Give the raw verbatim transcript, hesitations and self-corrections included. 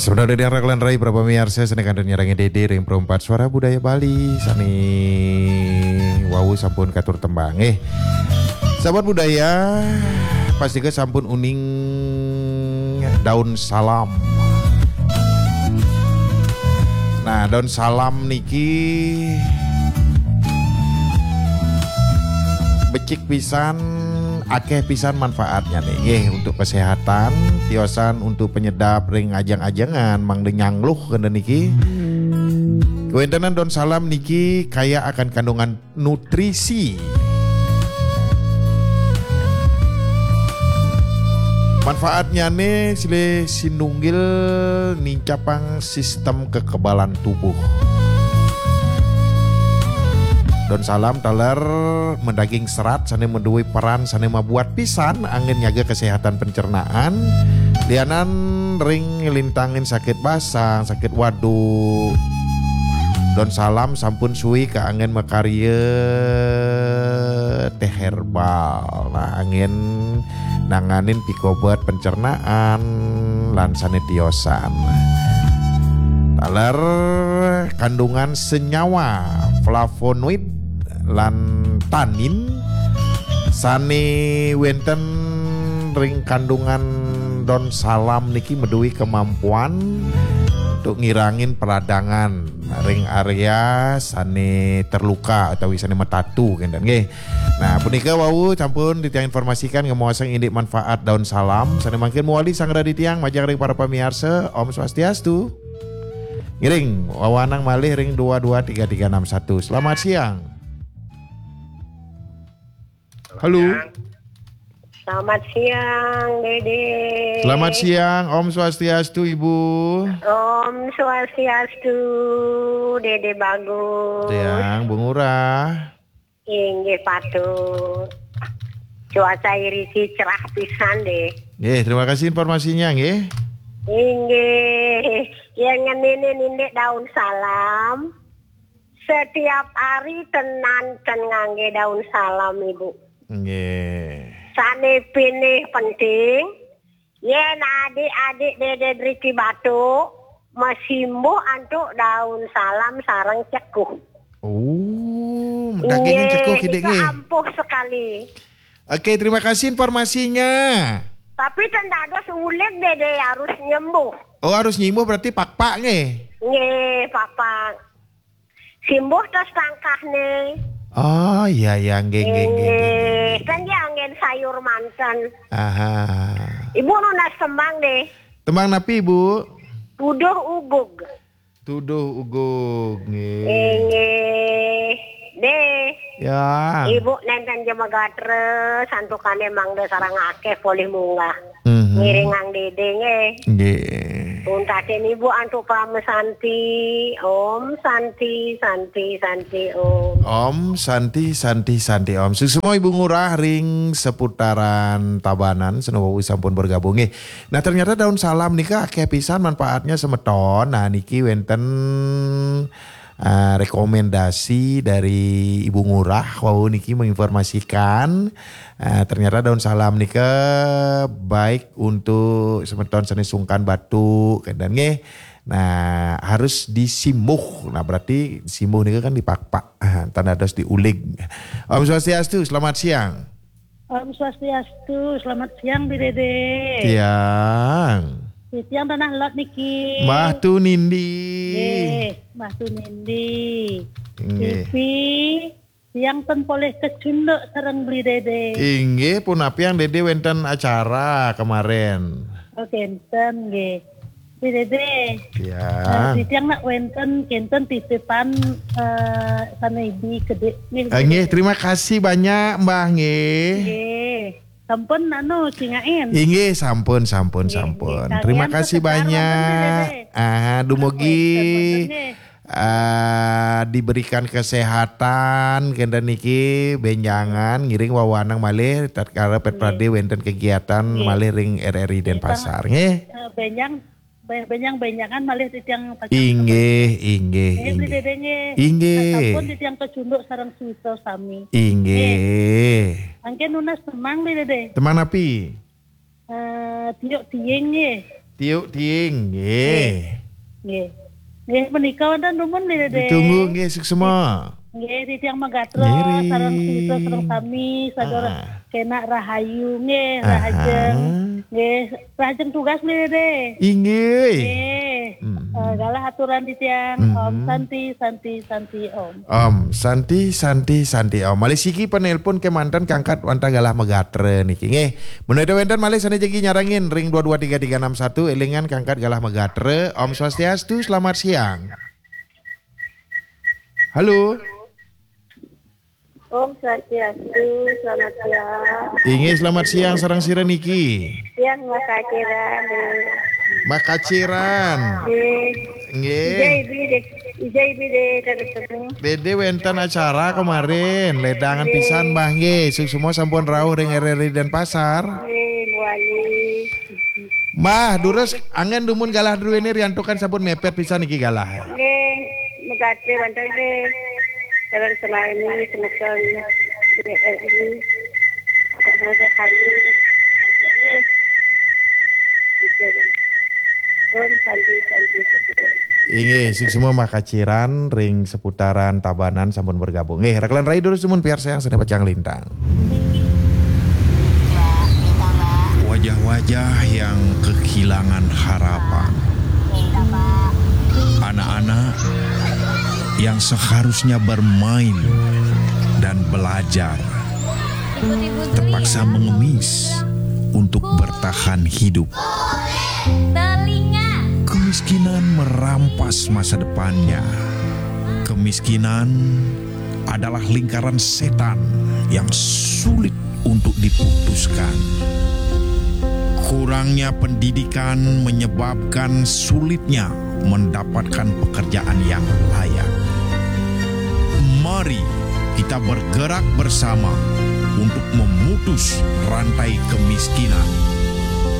Sebenarnya yang raglan rai berapa miarsa seni kantun nyarangi Dede ring Perempat Suara Budaya Bali sani wau sampun katur tembang eh. Sahabat budaya, pasti ke sampun uning daun salam. Nah, daun salam niki becik pisan, akeh pisan manfaatnya nih nggih, untuk kesehatan, tiosan untuk penyedap ring ajeng-ajengan mangda nyangluh kena niki. Kewentenan daun salam niki kaya akan kandungan nutrisi. Manfaatnya nih silih sinunggil nincapang sistem kekebalan tubuh. Daun salam taler mendaging serat sane meduwe peran sane mabuat pisan angin nyaga kesehatan pencernaan, lianan ring lintangin sakit basang, sakit waduk. Daun salam sampun suwi kaangin makarya teh herbal. Nah, angin nanganin pikobet pencernaan lan sane tiosan. Taler kandungan senyawa flavonoid lan tanin sane wenten ring kandungan daun salam niki meduwi kemampuan untuk ngirangin peradangan ring area sane terluka utawi sane metatu kenten nggih. Nah, punika wau sampun titiang informasikan ngemaosang indik manfaat daun salam sane mangkin mawali sangra titiang majeng ring para pamiarsa. Om Swastiastu. Ngiring wawanang malih ring dua dua tiga tiga enam satu. Selamat siang. Halo. Selamat siang, Dede. Selamat siang, Om Swastiastu, Ibu. Om Swastiastu, Dede Bagus. Siang, Bu Ngurah. Inggih patut. Cuaca iriki cerah pisan deh. Nggih, terima kasih informasinya nggih. Inggih, yang ngeninin indik daun salam. Setiap hari tenan ten ngangge daun salam, Ibu. Nggih. Sane pinih penting, yen adik-adik Dede driki batuk, masimbuh antuk daun salam sareng cekuh. Oh, dagingin cekuh kidik nggih. Ampuh sekali. Oke, terima kasih informasinya. Tapi ten dados uleg Dede harus nyembuh. Oh, harus nyembuh berarti pakpak nggih. Nggih, pakpak. Simbuh tos tangkahne. Oh, iya, iya, nggih, nggih, nggih, nggih, nggih. Kan dia anggen sayur manten. Aha. Ibu nunas tembang deh. Tembang napi, Ibu? Tuduh ugug. Tuduh ugug, nggih. Nggih. Deh. Ya. Ibu nenten jemegatra santukane mangda sareng akeh polih munggah. Mhm. Ngiringang Dede nggih. Nggih. Untatin Ibu antuk Parama Santi. Om Santi, Santi, Santi, Om. Om Santi, Santi, Santi, Om. Suksma Ibu Ngurah ring seputaran Tabanan, sane wau sampun bergabung nggih. Nah, ternyata daun salam nika akeh pisan manfaatnya semeton. Nah, niki wenten eh, rekomendasi dari Ibu Ngurah wau niki menginformasikan, eh, ternyata daun salam nika baik untuk semeton sane sungkan batuk kenten nggih. Nah, harus disimbuh. Nah, berarti simbuh nika kan dipakpak. Ah, tanda dos diulig. Om Swastiastu, selamat siang. Om Swastiastu, selamat siang, Bi Dede. Siang. Di tiang tanah lot niki. Mbah Tu Nindi. Nggih, Mbah Tu Nindi. Nggih. Tipi, tiang ten polih kecunduk sareng Bli Dede. Inggih, punapi yang Dede wenten acara kemarin? Oh, kenten, nggih. Bli Dede. Ya. Eh, di tiang nak wenten, kenten titipan, eh, sana ibi kedik. Nggih, Eh, nggih, Dede. Terima kasih banyak, Mbah, nggih. Nggih. Sampun anu cingain. Inggih, sampun, sampun, Nggih, sampun. Nggih. Terima kasih banyak. Wonten, Dede. Ah, dumugi, Wonten, wonten, nggih. Ah, diberikan kesehatan kenten niki benjangan ngiring wawanang malih tatkala Pet Nggih. Prade wenten kegiatan Nggih. Malih ring R R I Nggih, Denpasar nggih. Eh, benjang, be-, benjang-benjangan malih titiang pacang. Inggih, inggih, Nggih, Bli inggih. Dede nggih. Inggih. Sampun titiang kecunduk sareng suwita sami. Inggih. Nggih. Angke nunas temang, Bli Dede. Temang napi? Eh, tiuk tiing nggih. Tiuk Tiing, nggih. Nggih. Nggih, menika wonten dumun, Dédé. Ditunggu, nggih, suksma. Nggih, titiang magatra, nggih, Ri. Sareng sira, sareng sami, sadaya, ah, kenak rahayu, nggih, ah, rahajeng. Nggih, rahajeng tugas, Dédé. Inggih. Nggih. Mm-mm. Eh, galah aturan titiang, Om, mm-mm, Santi, Santi, Santi, Om. Om, Santi, Santi, Santi, Om. Malih siki penelpon kemanten kangkat wantah galah magatra niki. Nggih. Menawi wénten malih sané jagi nyarengin ring dua dua tiga tiga enam satu, élingan kangkat galah magatra. Om Swastiastu, selamat siang. Halo. Om Swastiastu, selamat siang. Inggih, selamat siang, sareng sira niki? Siang, Mas Kaciran. Mas Kaciran. Nggih. Nggih. Ija Ibi dé, Ija Ibi dé, terus. Dédé wénten acara kemarin, lédangan, nggih, pisan, Mbah, nggih. Suksma sampun rauh ring R R I Denpasar. Nggih, Bu Wali. Mbah, durus anggén dumun galah druéné riantukan sampun mepet pisan niki galah. Nggih, megati wonten nggih. Dalam selain ini semeton R R I. Semoga hadir. Pun Santi, Santi, Santi. Inggih, suksma Mbah Kaciran ring seputaran Tabanan sampun bergabung. Nggih, rekelan rai durus dumun piarsayang sané pacang lintang. Wajah-wajah yang kehilangan harapan. Anak-anak yang seharusnya bermain dan belajar, terpaksa mengemis untuk bertahan hidup. Kemiskinan merampas masa depannya. Kemiskinan adalah lingkaran setan yang sulit untuk diputuskan. Kurangnya pendidikan menyebabkan sulitnya mendapatkan pekerjaan yang layak. Mari kita bergerak bersama untuk memutus rantai kemiskinan.